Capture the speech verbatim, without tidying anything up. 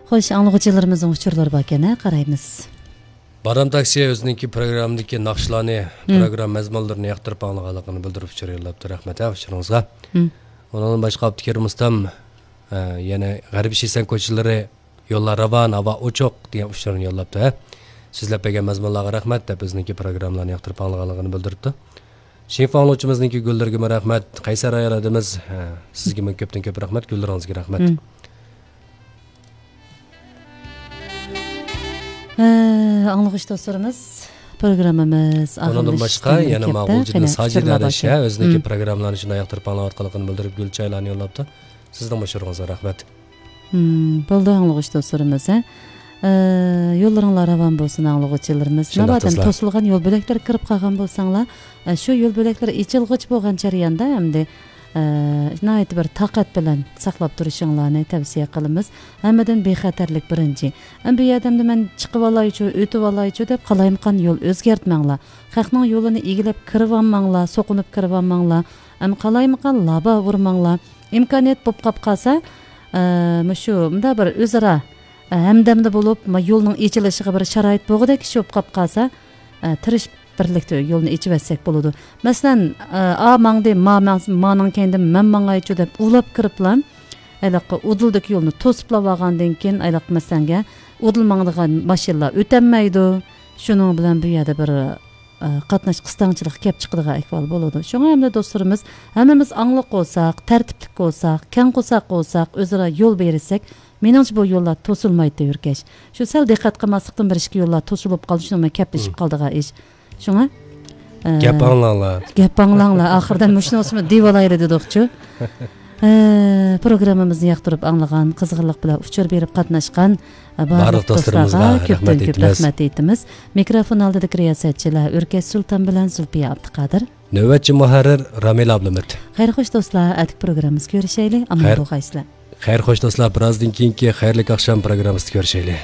خوش، ئاڭلىغۇچىلىرىمىزنىڭ ئۇچۇرلىرى باركەن، ھە، قارايمىز. بارام تاكسى ئۆزىنىڭكى پروگراممىدىكى ناخشىلارنى، مم. پروگرامما مەزمۇنلىرىنى ياقتۇرۇپ ئاڭلىغانلىقىنى بىلدۈرۈپ ئۇچۇر يوللاپتۇ. رەھمەت، ھە، ئۇچۇرىڭىزغا. مم. ئۇنىڭدىن باشقا ئابدۇكېرىم ئۇستام، ئە، يەنە غەربىي شىسەن كوچىلىرى، يوللار راۋان، ھاۋا ئوچۇق دېگەن ئۇچۇرنى يوللاپتۇ، ھە. سىزلەپ بەرگەن مەزمۇنلارغا رەھمەت دەپ، ئۆزىنىڭكى پروگراممىلارنى ياقتۇرۇپ ئاڭلىغانلىقىنى بىلدۈرۈپتۇ. شىنخۇا ئاڭلىغۇچىمىزنىڭكى گۈللىرىگىمۇ رەھمەت. قەيسەر ئايال ئادىمىز، ھە، سىزگىمۇ كۆپتىن كۆپ رەھمەت، گۈللىرىڭىزگە رەھمەت. مم. ھە، ئاڭلىغۇچى دوستلىرىمىز، پروگراممىمىز ئۇنىڭدىن باشقا ئاخىرلىشىشتىن يەنە بىر ماقۇلجىدىن كەپتە ساجىدە قېنى ئەلىشە ئۇچۇرلار باركەن. ئۆزىنىڭكى مم. پروگراممىلارنى شۇنداق ياقتۇرۇپ ئاڭلاۋاتقانلىقىنى بىلدۈرۈپ، گۈل چايلارنى يوللاپتۇ. سىزنىڭ مۇشۇرىڭىزغا رەھمەت. مم، بولدى، ئاڭلىغۇچى دوستلىرىمىز، ھە. ئە، يوللىرىڭلار راۋان بولسۇن، ئاڭلىغۇچىلىرىمىز. شۇنداق ناۋادا قىزلار. توسۇلغان يول بۆلەكلىرىگە كىرىپ قالغان بولساڭلار، ئە، شۇ يول بۆلەكلىرى ئېچىلغۇچە بولغان جەرياندا ئەمدى، ئە، ناھايىتى بىر تاقەت بىلەن ساقلاپ تۇرۇشۇڭلارنى تەۋسىيە قىلىمىز. ھەممىدىن بىخەتەرلىك بىرىنچى. ئەمدى بۇ يەردە ئەمدى مەن چىقىۋالايچۇ، ئۆتۈۋالايچۇ دەپ قالايمىقان يول ئۆزگەرتمەڭلار. خەقنىڭ يولىنى ئىگىلەپ كىرىۋالماڭلار، سوقۇنۇپ كىرىۋالماڭلار. ئەمدى قالايمىقان لابا ئۇرماڭلار. ئىمكانىيەت بولۇپ قاپ قالسا، ئە، مۇشۇ مۇنداق بىر ئۆزئارا، ئە، ھەمدەمدە بولۇپ، ما، يولنىڭ ئېچىلىشىغا بىر شارائىت بولغۇدەك ئىش بولۇپ قاپ قالسا، ئە، تىرىشىپ بىرلىكتە يولنى ئېچىۋەتسەك بولىدۇ. مەسىلەن، ئە، ئا ماڭدى، ما ماڭ-، مانىڭ كەينىدىن مەن ماڭايچۇ دەپ ئۇلاپ كىرىپلا، ھېلىقى ئۇدۇلدىكى يولنى توسۇپلا بارغاندىن كېيىن، ھېلىقى مەسىلەنگە ئۇدۇل ماڭىدىغان ماشىنىلار ئۆتەلمەيدۇ. شۇنىڭ بىلەن بۇ يەردە بىر ئە، قاتناش قىستاڭچىلىقى كەپ چىقىدىغان ئەھۋال بولىدۇ. شۇڭا ئەمدى دوستلىرىمىز، ھەممىمىز ئاڭلىق بولساق، تەرتىپلىك بولساق، كەڭ قورساق بولساق، ئۆزئارا يول بېرىشسەك، مېنىڭچە بۇ يوللار توسۇلمايدۇ، يۈركەش. شۇ سەل دىققەت قىلماسلىقتىن بىر ئىككى يوللار توسۇلۇپ قالدى، شۇنىڭ بىلەن كەپلىشىپ مم. قالىدىغان ئىش. شۇڭا، ئە، گەپ ئاڭلاڭلار. گەپ ئاڭلاڭلار. ئاخىرىدا مۇشۇنىڭ ئۈستىدە دېۋالايلى دېدۇقچۇ. ئە، پروگراممىمىزنى ياقتۇرۇپ ئاڭلىغان، قىزغىنلىق بىلەن ئۇچۇر بېرىپ قاتناشقان، ئە، بارلىق بارلىق دوستلىرىمىزغا دوستلارغا رەھمەت كۆپتىن كۆپ ئېيتىمىز. رەھمەت ئېيتىمىز. مىكروفون ئالدىدىكى رىياسەتچىلەر ئۆركەش سۇلتان بىلەن زۇلپىيە ئابدۇقادىر. نۆۋەتچى مۇھەررىر رامىلە ئابلىمىت. خەير خوش دوستلار، ئەتىكى پروگراممىمىزدا كۆرۈشەيلى. ئامان خەير. بولغايسىلەر. خەير خوش دوستلار، بىرازدىن كېيىنكى خەيرلىك ئاخشام پروگراممىسىدا كۆرۈشەيلى.